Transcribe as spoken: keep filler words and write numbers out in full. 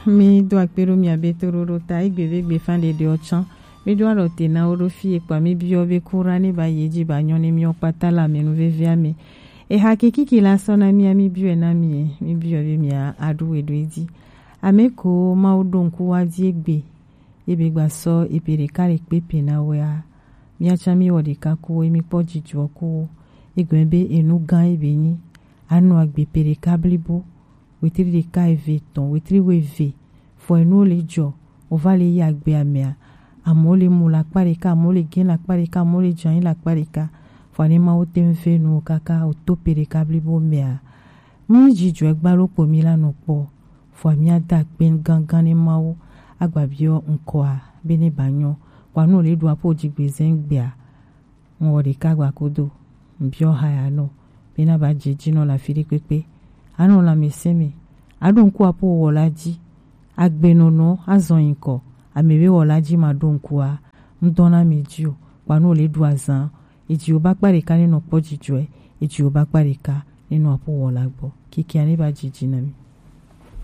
Mi do akpe ɖo mia be to ɖo ɖo ta egbe be gbe fan ɖeɖe ɔ tsan. Mi do alɔ te na wo ɖo fi ekpa mi biɔ be kura ne ba yi edzi ba nyɔ ne miɔ kpata le amenuvevea me. Eha ke kiki la sɔ na mia mi biɔe na mi e, mi biɔ be mia aɖu we ɖo edzi. Ame ko Mawu ɖo ŋku wa di egbe. Ebe gba sɔ ebe ɖeka le kpe pe na wea. Mia tsan mi wɔ ɖeka ku wo, mi kpɔ jijɔ ku wo. Egbe be enu gã ebe nyi. Anɔ agbe pe ɖeka blibo. Wetri ɖeka eve etɔn, wetri wo eve. Fɔ enu le jɔ, o va le yi agbe amea. Amewo le mu le akpa ɖeka, amewo le gẽ le akpa ɖeka, amewo le dze anyi le akpa ɖeka. Fɔ ne Mawu te ŋu ve nu wo kaka o to pe ɖeka blibo mea. Mi jijɔ gba lo kpo mi la nɔ kpɔ. Fɔ mi ada akpe gangan ne Mawu. Agba biɔ ŋkɔa be ne ba nyɔ. Kpa nu le ɖu apo jigbe zɛn gbea. Ŋwɔ ɖeka gba kodo, ŋbiɔ ha ya nɔ, be na ba je ji nɔ le afi ɖe kpekpe. Anɔ lãmesẽ me, aɖo ŋku apo wɔ la ji. Agbenɔnɔ azɔ ŋkɔ, ame be wɔ la ji ma ɖo ŋkua, ŋdɔ na mi ji o, kpa nu le ɖu azan, eji wo ba kpa ɖeka ne nɔ kpɔ jijɔe, eji wo ba kpa ɖeka ne nɔ apo wɔ la gbɔ. Kikia ne ba je ji na mi.